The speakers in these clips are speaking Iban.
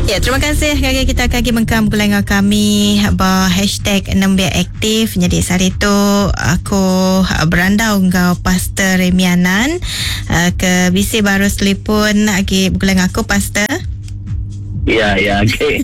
Ya, terima kasih ngagai kita ke agi mengkang begulai enggau kami ba hashtag Nembiak Aktif. Jadi sehari tu aku berandau enggau Pastor Remy Anan eh, ke bisi baru selipun agi begulai enggau aku Pastor. Ya, ya, okey.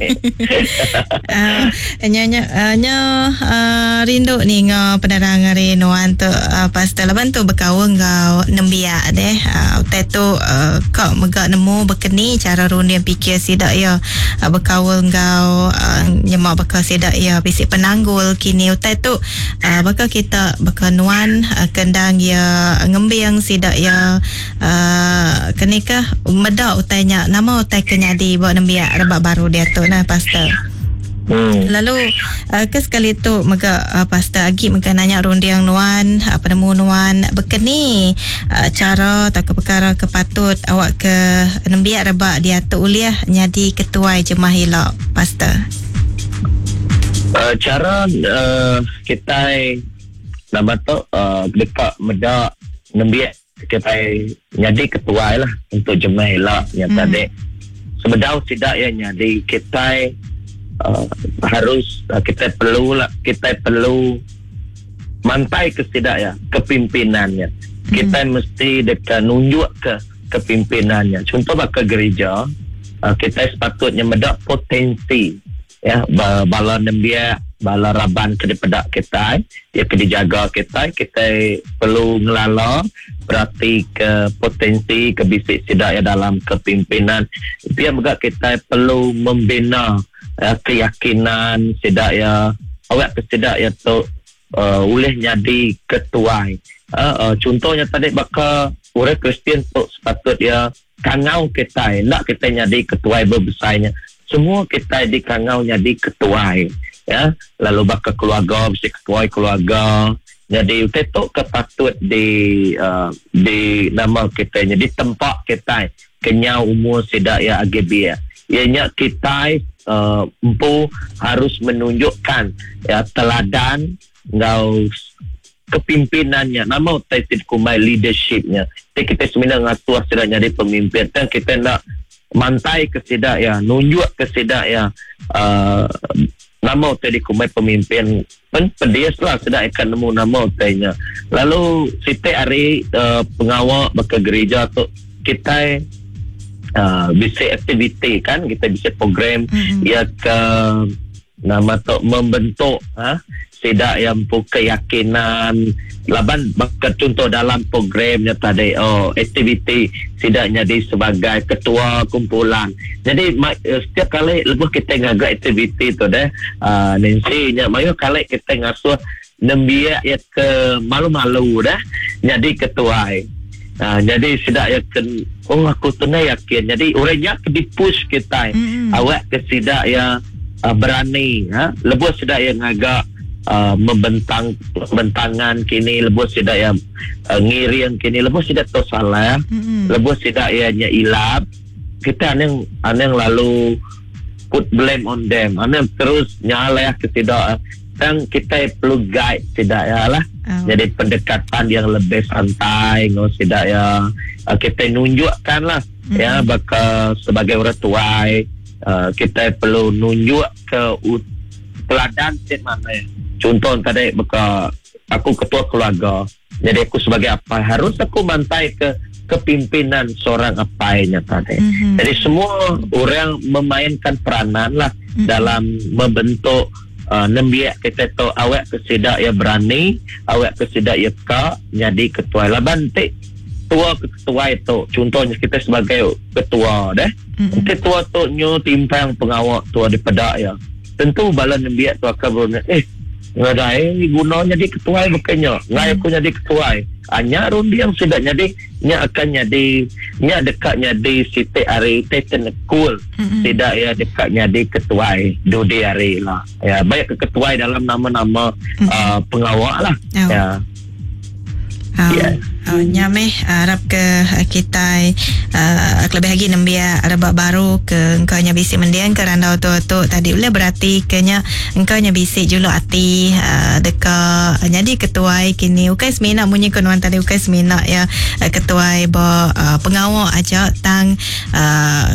Uh, nya nya uh, nya uh, rindu ninga penerang ari nuan tu uh, pastor laban tu bekaul enggau nembiak deh. Uh, utai tu uh, ka mega nemu bekeni cara runding pikir sida iya uh, bekaul enggau uh, nyema baka sida iya bisi penanggul kini utai tu uh, baka kita baka nuan uh, ke endang iya ngembing sida iya Aaa keni kah meda utai nya nama utai ke nyadi ba nembiak rebak baru diatu nah pastor. Hmm. Lalu uh, ke sekali tu mega uh, pastor agi mega nanya runding nuan, uh, penemu nuan bekeni uh, cara tauka perkara ke patut awak ke nembiak rebak diatu ulih nyadi ketuai jemah ila pastor. Uh, cara uh, kitai nama tu uh, deka meda nembiak Kitai nyadi ketuai lah untuk jemah ila nya mm. tadi. Sebedau sida iya nyadi kitai uh, harus uh, kitai perlu lah kitai perlu mantai ke sida ya kepimpinannya. Mm. Kitai mesti deka nunjuk ke kepimpinannya. Contoh baka gereja uh, kitai sepatutnya meda potensi Ya, bala nembiak, bala raban ke dipeda kitai, iya ke dijaga kitai, kitai perlu ngelala, beratika potensi ke bisi sida iya dalam kepimpinan. Pia mega kitai perlu membina ya, keyakinan sida iya, awakka sida iya tu uh, ulih nyadi ketuai. Uh, uh, contohnya tadi baka orang Kristian tu sepatut iya Kangau kitai enda kitai nyadi ketuai bebesai nya. Semua kitai dikangau nyadi ketuai ya. Lalu baka keluarga bisi ketuai keluarga. Nyadi utai tu ke patut di uh, di nama kitai nya ditempa kitai kenyau umur sida iya agi biak. Iya nya kitai uh, empu harus menunjukkan ya teladan enggau kepimpinan nya nama utai ti dikumbai leadership nya ti kitai semina ngasuh sida nyadi pemimpin tang kitai enda mantai ke sida iya nunjuk ke sida iya uhh nama utai dikumbai pemimpin pen pedis lah sida iya ka nemu nama utai nya lalu siti ari uhh pengawa baka gerija tu kitai uhh bisi aktiviti kan kitai bisi program iya ke Nama tu membentuk ha sida iya empu keyakinan laban baka chunto dalam program nya tadi oh aktiviti sida nyadi sebagai ketua kumpulan. Nyadi setiap kali lebuh kitai ngaga aktiviti tu deh uhh Nancy nya mayuh kali kitai ngasuh nembiak iya ke malu-malu deh nyadi ketuai. Uhh nyadi sida iya ke oh aku tu enda yakin nyadi orang nya ke dipush kitai awak ke sida iya berani ha lebuh sida iya ngaga uhh membentang bentangan kini lebuh sida iya ngiring kini lebuh sida tu salah lebuh sida iya nya ilap kita anang anang lalu put blame on them anang terus nyalah ke sida tang kitai perlu guide sida iya lah jadi pendekatan yang lebih santai enggau sida iya kitai nunjukkan lah ya baka sebagai orang tuai. Kitai perlu nunjuk ke teladan ti manah. Chunto tadi baka aku ketua keluarga, jadi aku sebagai apai harus aku mantai ke kepimpinan seorang apai nya tadi. Mm-hmm. Jadi semua orang memainkan peranan lah mm-hmm. dalam membentuk uh, nembiak kita tu awak ke sida ia berani, awak ke sida ia ka jadi ketua. Laban ti tua ke ketuai tu, contohnya kita sebagai ketua deh. Enti tua tu nyu timpang pengawa tua dipeda iya, tentu bala nembiak tu akan berunding, Eh, ngagai guna nyadi ketuai baka nya. Enggai aku nyadi ketuai. Ah, nya runding sida nyadi nya akan nyadi nya deka nyadi siti ari ti tenekul sida iya deka nyadi ketuai dudi hari ila. Ya, baik ke ketuai dalam nama-nama uhh pengawa lah. Ya. Oh, yeah. oh, nya meh arap ke kitai kelebih agi nembiak rebak baru ke engka nya bisi mending ke randau tu tu tadi ulih berati ke nya engka nya bisi juluk ati deka nyadi ketuai kini ukai semina munyi ko nuan tadi ukai semina ya ketuai ba pengawa aja tang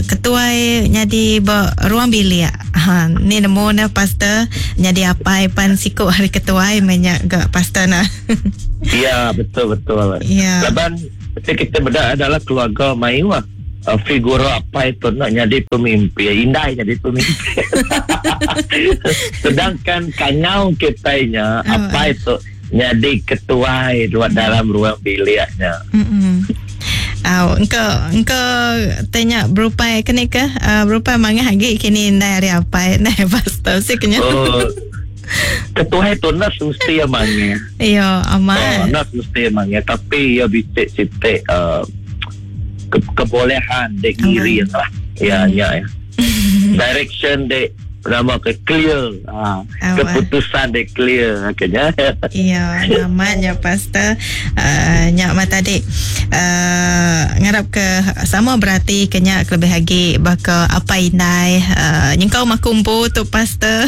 ketuai nyadi ba ruang bilik. Ha ni nemu ne pastor nyadi apai pan siku hari ketuai meh nya ga pastor nah. Ya betul betul. Ya. Laban kita beda adalah keluarga mayu ah. Figura apa itu nak jadi pemimpin, indai jadi pemimpin. Sedangkan kanyau kita nya oh, apa itu jadi ketua luar dalam ruang biliknya. Au, engkau engkau tanya berupai kene ke berupai mangah agi kini indai hari apai ndai pastor si kenya. Oh. Ketuai tu enda semesti iya mangih. Iya, amat. Oh, enda semesti iya mangih tapi iya bisi siti uh, ke kebolehan dek ngiring lah. Ya, nya ya. Direction dek nama ke clear. Ha, keputusan dek clear kenya. Iya, amat nya pastor. Nya amat tadi. Ngarap ke sama berati ke nya kelebih agi baka apai indai nyengkaum aku empu tu pastor.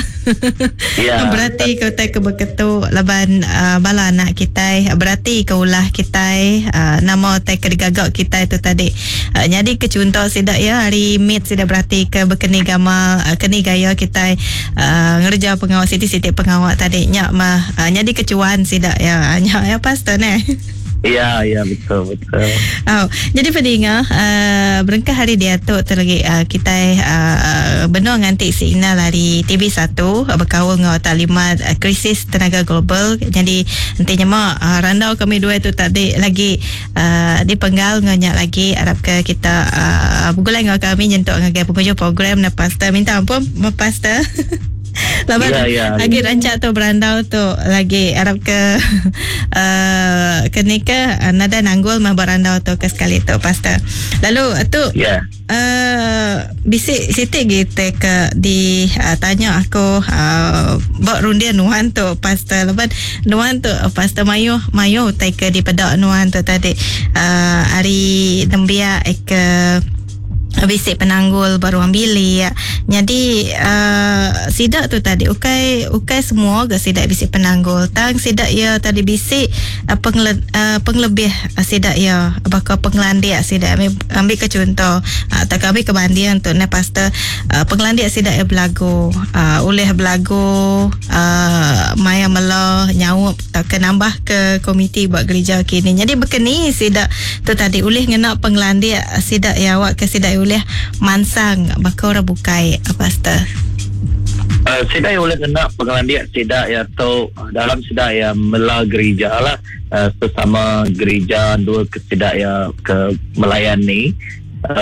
Yeah. Berati ke utai ke beketu laban bala anak kitai berati ke ulah kitai nama utai ke digaga kitai tu tadi. Nyadi ke chunto sida iya ari mit sida berati ke bekeni gamal keni gaya kitai ngereja pengawa siti-siti pengawa tadi nya mah nyadi ke chuan sida iya. Nya iya pastor neh. Ya, ya betul betul. Oh, jadi pedinga berengkah hari diatu tu lagi kitai benung nganti signal ari TV1 bekaul enggau taklimat krisis tenaga global. Jadi enti nyema randau kami dua tu tadi lagi dipenggal enggau nya lagi arap ke kita begulai enggau kami nyentuk ngagai pengujung program ne pastor. Minta ampun pastor. Laban Ya, ya. agi rancak tu berandau tu lagi arap ke ke ni ke nadai nanggul mah berandau tu ke sekali tu pastor. Lalu tu Ya. bisi siti gi te ke di tanya aku ba runding nuan tu pastor laban nuan tu pastor mayuh mayuh utai ke dipeda nuan tu tadi ari nembiak ke bisi penanggul ba ruang bilik. Nyadi uhh sida tu tadi ukai ukai semua ga sida bisi penanggul tang sida iya tadi bisi pengle uhh pengelebih sida iya baka pengelandik sida ambi ambi ke chunto uhh tauka ambi ke banding tu neh pastor uhh pengelandik sida iya belagu uhh ulih belagu uhh maya mela nyaup tauka nambah ke komiti ba gerija kini. Nyadi baka ni sida tu tadi ulih ngena pengelandik sida iya awakka sida iya ulih mansang baka orang bukai, Pastor? Sida iya ulih ngena pengelandik sida iya tu dalam sida iya mela gerija lah sesama gerija endur ke sida iya ke melayani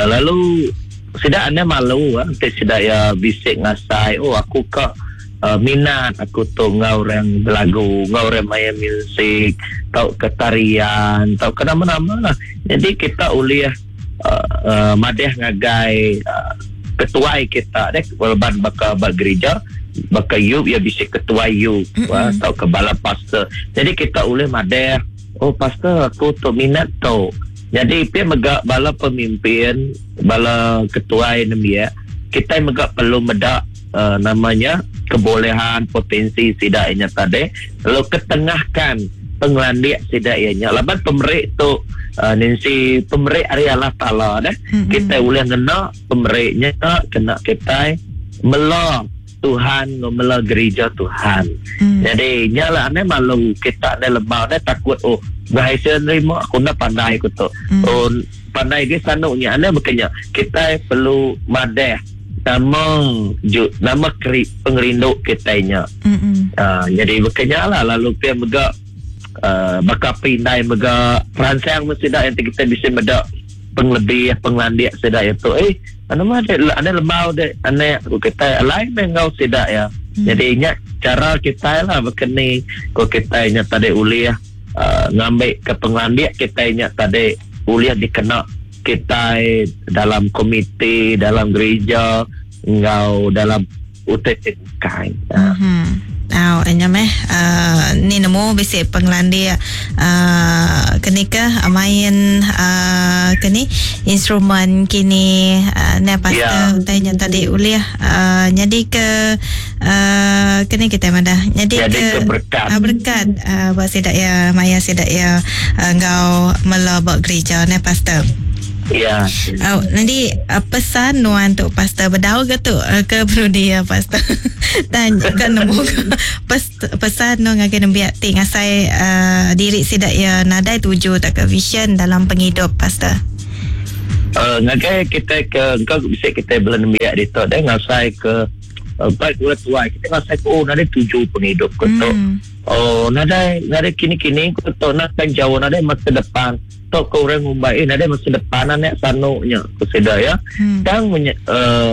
lalu sida enda malu enti sida iya bisi ngasai oh aku ka Minat aku tu enggau orang belagu, enggau orang main musik tauka tarian tauka nama-nama lah. Nyadi kita ulih uhh madih ngagai uhh ketuai kita deh laban baka ba gerija baka youth iya bisi ketuai youth tauka bala pastor. Nyadi kita ulih madih oh pastor aku tu minat tu. Nyadi pia mega bala pemimpin, bala ketuai nembiak kitai mega perlu meda nama nya kebolehan potensi sida iya nya tadi lalu ketengahkan pengelandik sida iya nya laban pemeri tu Nancy pemeri ari Allah Taala deh mm-hmm. kitai ulih ngena pemeri nya kena kitai mela Tuhan enggau mela gerija Tuhan. Mm. Jadi nya lah ane malu kita ane lemau ane takut oh berhasil nerima aku enda pandai aku tu. Oh pandai ge sanu nya ane bekenya kitai perlu madah Nama ju nama keri pengerindu kitai nya. Uh, jadi baka nya lah lalu pia mega uh, baka api indai mega peransang meh sida yang kita bisi meda pengelebih pengelandik sida itu eh anu mah dek ane lembau dek ane ku kitai alai meh enggau sida ya. Jadi nya cara kitai lah baka ni ku kitai nya tadi ulih uh, ngambi ke pengelandik kitai nya tadi ulih dikena kitai dalam komiti, dalam gerija enggau dalam utai ti bukai. Mm-hmm. Au nya meh ni nemu bisi pengelandik kenika main keni instrumen kini ne pastor utai nya tadi ulih nyadi ke keni kitai madah nyadi ke berkat berkat ba sida iya maya sida iya enggau mela ba gerija ne pastor. Ya. Au nanti pesan nuan tu pastor bedau ke tu ke penudi ya pastor. Tanya ke nemu pes, pesan nu ngagai nembiak ti ngasai diri sida ya nadai tuju tak ke vision dalam pengidup pastor. Ngagai kita ke engkau bisa kita bela nembiak ditu deh ngasai ke baik gula tuai kita ngasai ke oh nadai tuju pengidup ke tu. Oh nadai nadai kini-kini ke tu nak kan jauh nadai masa depan. Tok ke orang ngumbai nadai masa depan anak sanu nya ku sida ya. Tang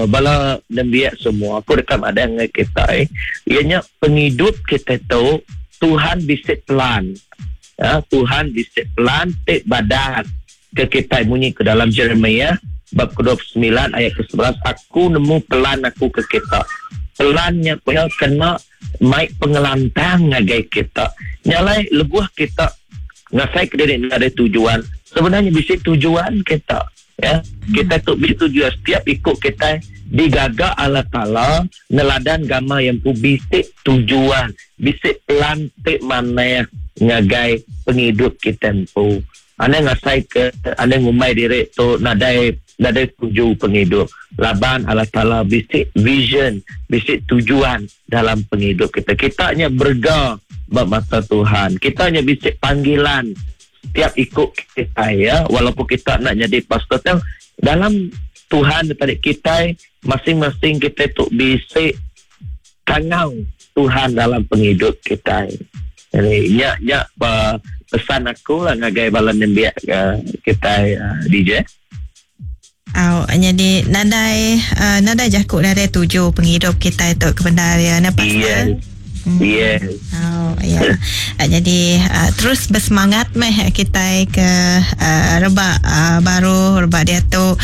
bala nembiak semua aku deka madah ngai kita iya nya pengidup kita tu Tuhan bisi plan. Ya, Tuhan bisi plan ti badas ke kita munyi ke dalam Jeremiah bab ke-29 ayat ke-11, aku nemu plan aku ke kita. Plannya punya kena mai pengelantang ngagai kita. Nyalai lebuh kita ngasai ke diri ada tujuan, sebenarnya bisi tujuan kita ya. Kita tu bisi tujuan, setiap ikut kita digaga Allah Taala neladan gama yang pu bisi tujuan, bisi plan ti manah ngagai penghidup kita empu. Anda ngasai ke anda ngumbai diri tu nadai tuju penghidup. Laban Allah Taala bisi vision, bisi tujuan dalam penghidup kita. Kita nya berga ba mata Tuhan. Kita nya bisi panggilan setiap ikut kita ya, walaupun kita nak jadi pastor tang dalam Tuhan tadi kita masing-masing kita tu bisi kangau Tuhan dalam penghidup kita. Jadi nya pesan aku lah ngagai bala nembiak kita DJ. Au jadi nadai nadai jakuk nadai tuju penghidup kita itu kebenar ya na pastor. Yes. Yes. Oh ya. Jadi terus bersemangat meh kita ke rebak baru rebak dia tu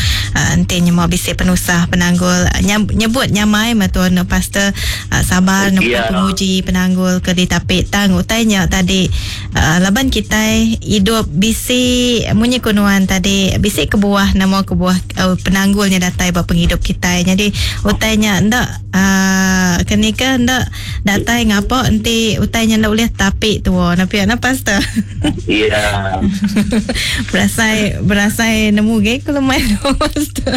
enti nyema bisi penusah penanggul nyebut nyamai matuan pastor sabar nemu penguji penanggul ke ditapi tang utainya tadi laban kita hidup bisi munyi kunuan tadi bisi kebuah nama kebuah penanggulnya datai ba penghidup kita. Jadi utainya ndak kenika ndak datai ngapa enti utainya ndak boleh tapi tua napi ana pastor. Ya. Berasai nemu ge ku lemai pastor.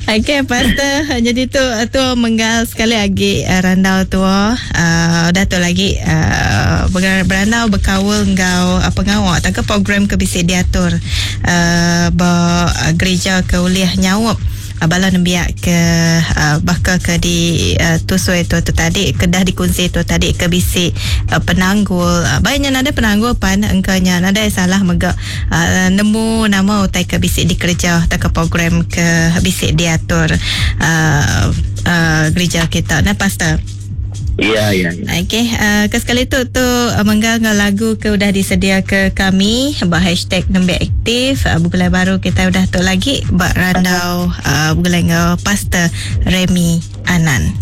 Okey pastor, jadi tu menggal sekali lagi randau tua dah tu lagi berandau berkaul enggau pengawak atau ke program ke bisi diatur ba gereja ke ulih nyaup bala nembiak ke bakal ke di tusui tu tadi ke dah dikunsi tu tadi ke bisi penanggul baiknya nadai penanggul pan engkanya nadai salah mega nemu nama utai ke bisi dikerja atau ke program ke bisi diatur gereja kita nah pastor. Ya. Okey, ke sekali tu menggal ngau lagu ke udah disedia ke kami ba hashtag Nembiak Aktif. Begulai baru kita udah tu lagi ba randau begulai ngau Pastor Remy Anan.